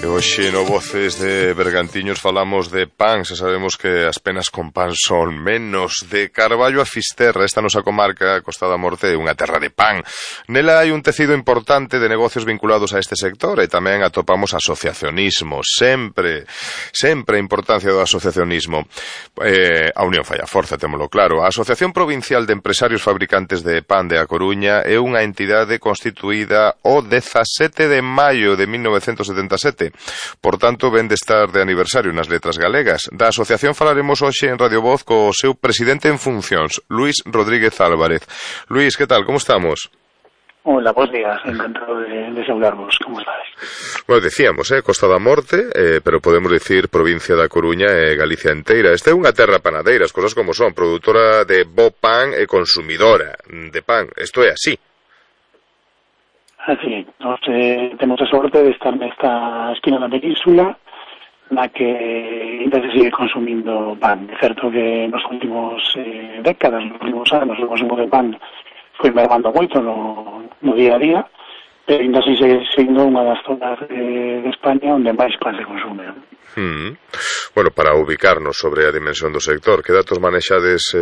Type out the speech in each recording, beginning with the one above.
E hoxe no Voces de Bergantiños falamos de pan. Xa sabemos que as penas con pan son menos. De Carballo a Fisterra, esta nosa comarca, a Costa da Morte, é unha terra de pan. Nela hai un tecido importante de negocios vinculados a este sector e tamén atopamos asociacionismo. Sempre a importancia do asociacionismo. A unión fai a forza, témolo claro. A Asociación Provincial de Empresarios Fabricantes de Pan de A Coruña é unha entidade constituída o 17 de maio de 1977. Por tanto, ven de estar de aniversario nas letras galegas. Da asociación falaremos hoxe en Radio Voz co seu presidente en funcións, Luís Rodríguez Álvarez. Luís, que tal? Como estamos? Hola, bons días, encantado de saudarvos, como estáis? Bueno, decíamos, Costa da Morte, pero podemos dicir provincia da Coruña e Galicia inteira. Esta é unha terra panadeira, as cosas como son, produtora de bo pan e consumidora de pan. Isto é así. Así, nos temos a sorte de estar nesta esquina da península na que ainda se sigue consumindo pan. É certo que nos últimos décadas, nos últimos anos, o consumo de pan foi mermando moito no día a día, pero ainda así segue sendo unha das zonas de España onde máis pan se consume. Bueno, para ubicarnos sobre a dimensión do sector, que datos manexades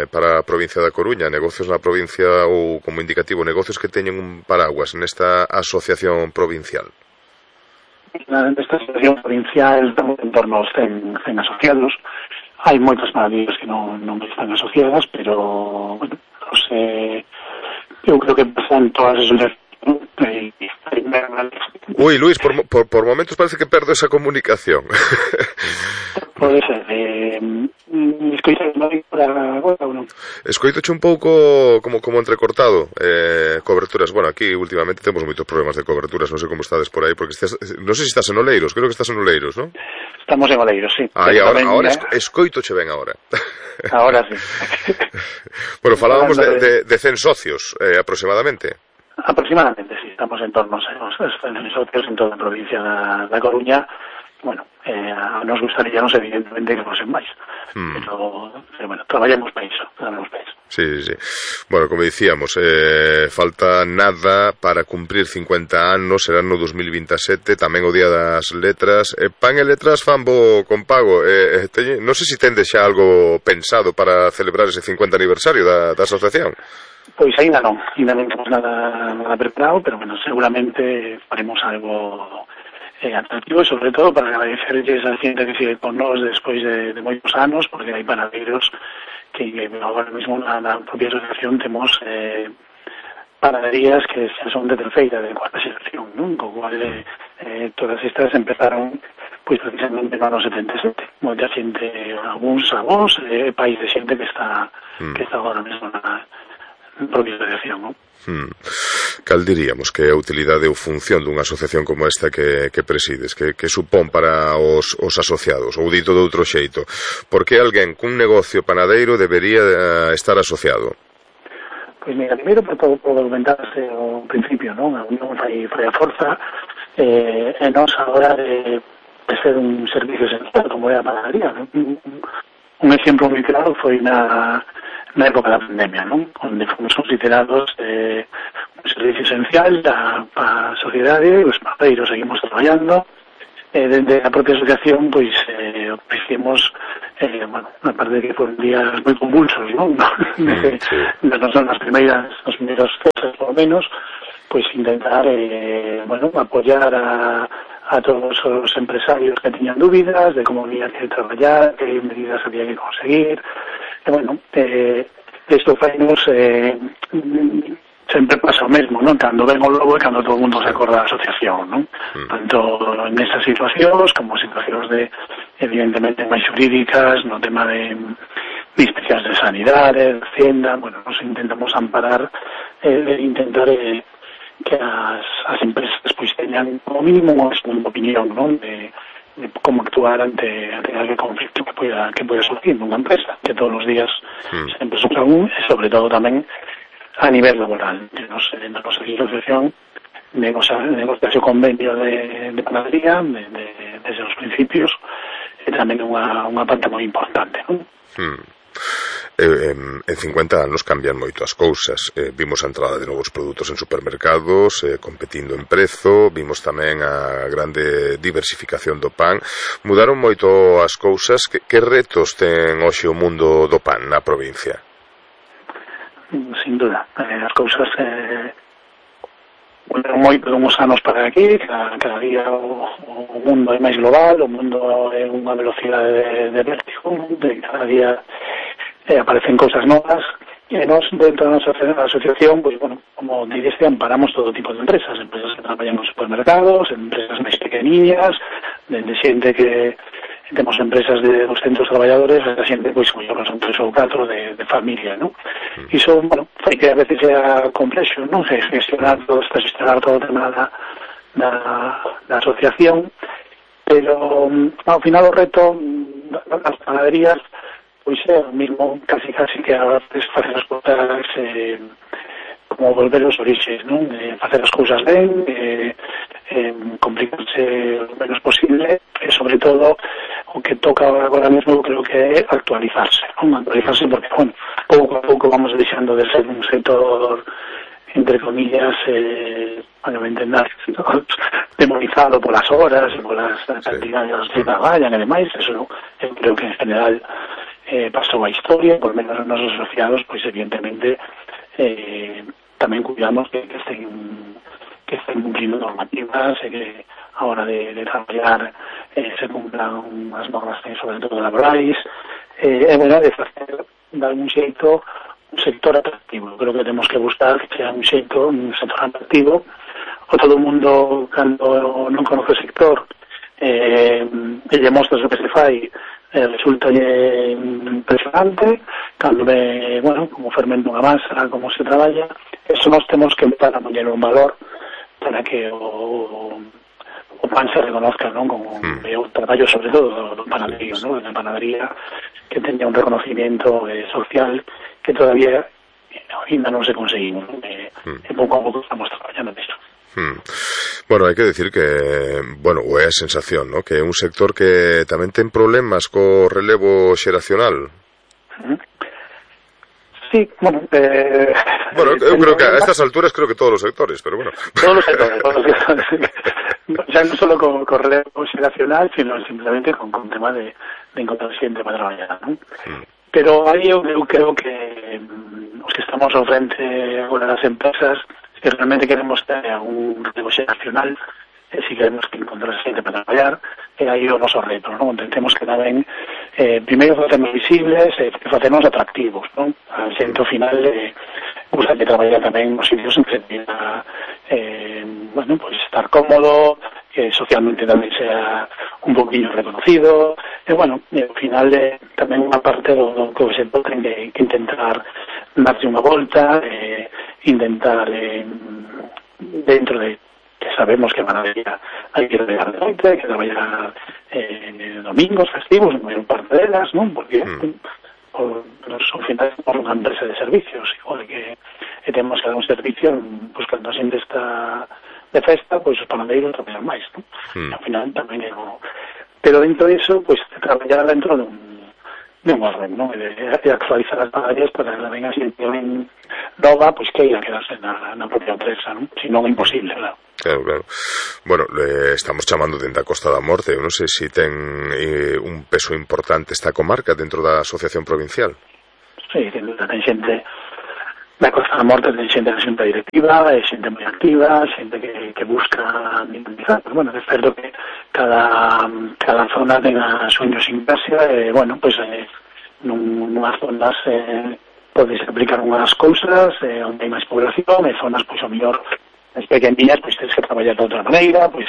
para a provincia da Coruña, negocios na provincia ou como indicativo, negocios que teñen un paraguas nesta asociación provincial? Nesta asociación provincial estamos en torno aos 100 asociados. Hai moitas panaderías que non están asociadas, pero bueno, eu creo que pasan todas as Ui, Luís, por momentos parece que perdo esa comunicación. Pode ser. Escoitaste por agora ou non? Escoitoche un pouco como entrecortado. Coberturas, bueno, aquí últimamente temos moitos problemas de coberturas, non sei como estades por aí, porque non sei se estás en Oleiros, creo que estás en Oleiros, non? Estamos en Oleiros, sí. Ahora escoitoche ben agora. Ahora sí. Bueno, falábamos de 100 socios, aproximadamente. Aproximadamente, sí, estamos en torno aos 100 socios en toda a provincia da Coruña. Bueno, nos gustaría, evidentemente, que fosen máis. Pero bueno, traballamos para iso. Sí. Bueno, como dicíamos, falta nada para cumprir 50 anos, será no 2027, tamén o Día das Letras. Pan e Letras fan bo con pago. Non sei se tendes xa algo pensado para celebrar ese 50 aniversario da asociación. Pois ainda non temos nada preparado, pero bueno, seguramente faremos algo atractivo, e sobre todo para agradecerles a xente que sigue con nós despois de moitos anos, porque hai panadeiros que agora mesmo na propia asociación temos panaderías que xa son de terceira, de cuarta xeración, non? Co cual todas estas empezaron pois precisamente no ano 77. Moita xente, algúns avós, pais de xente que está agora mesmo na propia asociación, non? Cal diríamos que é a utilidade ou función dunha asociación como esta que presides, que supón para os asociados, ou dito de outro xeito? Por que alguén cun negocio panadeiro debería estar asociado? Pois mira, primeiro por todo argumentarse ao principio, non? A unión fai a forza, e nós a hora de ser un servicio esencial como é a panadería. Un exemplo moi claro foi na época da pandemia, non? Onde fomos considerados un servicio esencial para a sociedade, os panadeiros seguimos traballando, dende a propia asociación, pois, ofrecemos, bueno, na parte de que foron días moi convulsos, non? Non son os primeiros cosas, por lo menos, pois intentar, bueno, apoiar a todos os empresarios que teñan dúbidas de como había que traballar, que medidas había que conseguir. E, bueno, isto fainos sempre pasa o mesmo, non? Cando ven o logo e cando todo o mundo se acorda da asociación, non? Tanto nestas situacións como situacións de, evidentemente, máis jurídicas, no tema de inspeccións de sanidade, de Hacienda. Bueno, nos intentamos amparar intentar que as empresas pois teñan como mínimo unha segunda opinión, non? De como actuar ante aquel conflicto que poida surgir nunha empresa, que todos os días sempre sufre un, e sobre todo tamén a nivel laboral. Dentro da nosa asociación negociase o convenio de panadería desde os principios, e tamén unha parte moi importante, non? En 50 anos cambian moito as cousas. Vimos a entrada de novos produtos en supermercados, competindo en prezo, vimos tamén a grande diversificación do pan. Mudaron moito as cousas. Que retos ten hoxe o mundo do pan na provincia? Sin duda, as cousas mudaron moito de uns anos para aquí. Cada día o mundo é máis global, o mundo é unha velocidade de vértigo, cada día aparecen cousas novas, e nós dentro da nosa asociación, pues, bueno, como dixeste, amparamos todo tipo de empresas que traballan en supermercados, empresas máis pequeniñas, de xente que temos empresas de 200 traballadores, a xente, pois, como son 3 ou 4 de familia, non? Iso, bueno, fai que a veces sea complexo, non? Gestionar todo o tema da asociación, pero ao final o reto das panaderías pois é o mismo, casi que a veces facer as cousas como volver aos orixes, non? Facer as cousas ben, complicarse o menos posible, e sobre todo o que toca agora mesmo creo que é actualizarse, non? Actualizarse porque, bueno, pouco a pouco vamos deixando de ser un sector, entre comillas, para me entender, demonizado polas horas e polas cantidades que traballan e demais. Eso eu creo que en general pasou a historia, por menos os nosos asociados, pois evidentemente tamén cuidamos que estén cumplindo normativas e que a hora de traballar se cumplan as normas, sobre todo laborais, bueno, de facer de algún xeito un sector atractivo. Creo que temos que buscar que sea un sector atractivo. O todo o mundo, cando non conoce o sector e lle mostras o que se fai, resulta impresionante. Cando ve, bueno, como fermenta unha masa, como se traballa, eso nós temos que empezar a poñer un valor para que o pan se reconozca, non? Como o traballo, sobre todo, do panadería, non? Da panadería, que teña un reconocimiento social que todavía ainda non se conseguimos, non? E pouco a pouco estamos traballando nisso. Bueno, hai que decir que, bueno, é a sensación, ¿no? Que é un sector que tamén ten problemas co relevo xeracional. Sí, bueno, eu creo que a estas alturas creo que todos os sectores, pero bueno. Todos os sectores. Ya non só co relevo xeracional, sino simplemente con tema de encontrar xente para traballar, ¿no? Pero aí eu creo que os que estamos ao frente agora das empresas, se realmente queremos ter un relevo xeracional, si queremos que encontrar xente para traballar, e aí o noso reto, non? Tentemos que tamén primeiro facernos visibles e facernos atractivos, non? A xente ao final gusta de traballar tamén nos sitios en que tenga bueno, pues estar cómodo, que socialmente tamén sea un poquinho reconocido, e bueno, ao final tamén unha parte do que o sector ten que intentar darse unha volta, intentar dentro de que sabemos que van a venir, hai que traballar de noite, hai que traballar domingos, festivos, en maior parte delas, non? Porque ao final somos unha empresa de servicios, igual que temos que dar un servicio, pues cando a xente está de festa, pois os panadeiros traballan máis, non? Ao final tamén é pero dentro disso, pois traballar dentro dun orden, non? E actualizar as panaderías para que venga xente ben nova, pois que ia quedarse na propia empresa, non? Si non é imposible, claro. Claro. Bueno, estamos chamando dentro da Costa da Morte. Eu non sei se ten un peso importante esta comarca dentro da Asociación Provincial. Sí, ten xente da Costa da Morte, ten xente da xunta directiva, xente moi activa, xente que busca dinamizar. Pero, bueno, é certo que cada zona ten a súa idiosincrasia e, bueno, pois nunhas zonas podes aplicar unhas cousas onde hai máis población, e zonas, pois, ao mellor as pequeniñas, pois tens que traballar de outra maneira, pois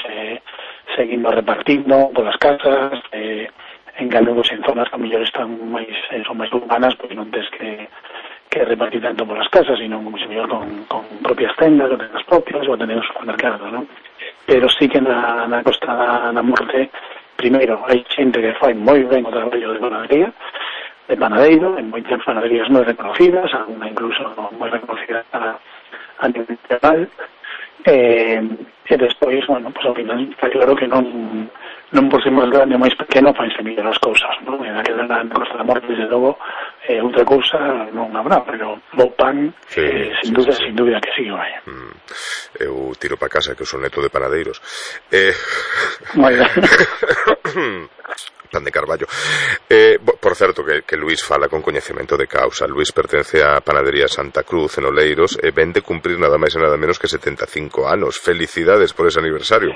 seguindo repartindo polas casas, en cambio, pois, en zonas que ao mellor son máis urbanas, pois non tens que repartir tanto polas casas, sino como se mellor con propias tendas, ou tendas propias, ou tener un supermercado, non? Pero sí que na Costa da Morte, primeiro, hai xente que fai moi ben o traballo de panadería, de panadeiro, en moitas panaderías moi reconocidas, alguna incluso moi reconocida a nivel nacional, e despois, bueno, pues ao final está claro que non por ser máis grande ou máis pequeno fanse mellor as cousas, non? En aquela na Costa da Morte, desde logo, outra cousa non habrá, pero bo pan, sin dúbida que sí, vai. Eu tiro para casa que eu son neto de panadeiros. Pan de Carballo. Por certo, que Luís fala con coñecemento de causa. Luís pertence á panadería Santa Cruz en Oleiros e vende cumprir nada máis e nada menos que 75 anos. Felicidades por ese aniversario, por